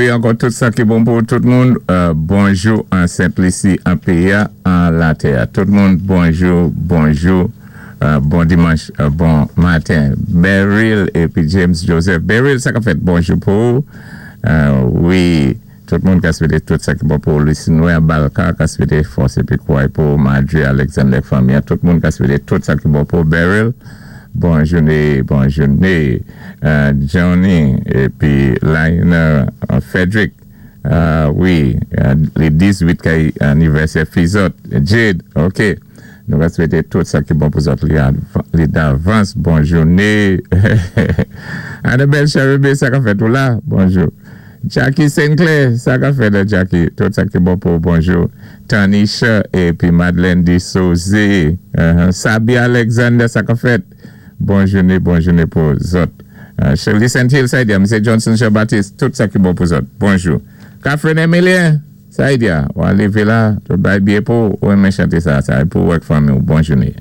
Wi, ankò tout sa ki bon pou tout moun. Bonjou an Sent Lisi, an péyi a, an latè. Tout moun, bonjou, bonjou. Bon dimanch, bon maten. Beryl épi James Joseph. Beryl, sa ka fèt, bonjou pou ou. Wi, tout moun ka swété tout sa ki bon pou Lucie Noé Balka, ka swété fòs épi kouway pou Marjorie Alexander fanmi. Tout moun ka swété tout sa ki bon pou Beryl. Bon jouné, bon jouné. Johnny épi Lionel Frederick. Wi, lé 18 kay anivèsè fi zòt. Jade, OK. Nou va swété tout sa ki bon pou zòt li davans. Bon jouné. Annabelle Cherubé, sa ka fèt ou la? Bonjou. Jackie Sinclair, sa ka fèt, Jackie? Tout sa ki bon pou bonjou. Tanisha épi Madeleine Dessauze. Sabi Alexander, sa ka fèt? Bon jouné, bon jouné pou zòt. Shirley St. Hill, sa di, M. Johnson Jean Baptiste, tout sa ki bon pou zòt. Bonjou. Catherine Emilien, sa di, ou lévé la, tout bay byen pou ou renmen chanté sa, sa pou ou ak fanmi. Bon jouné.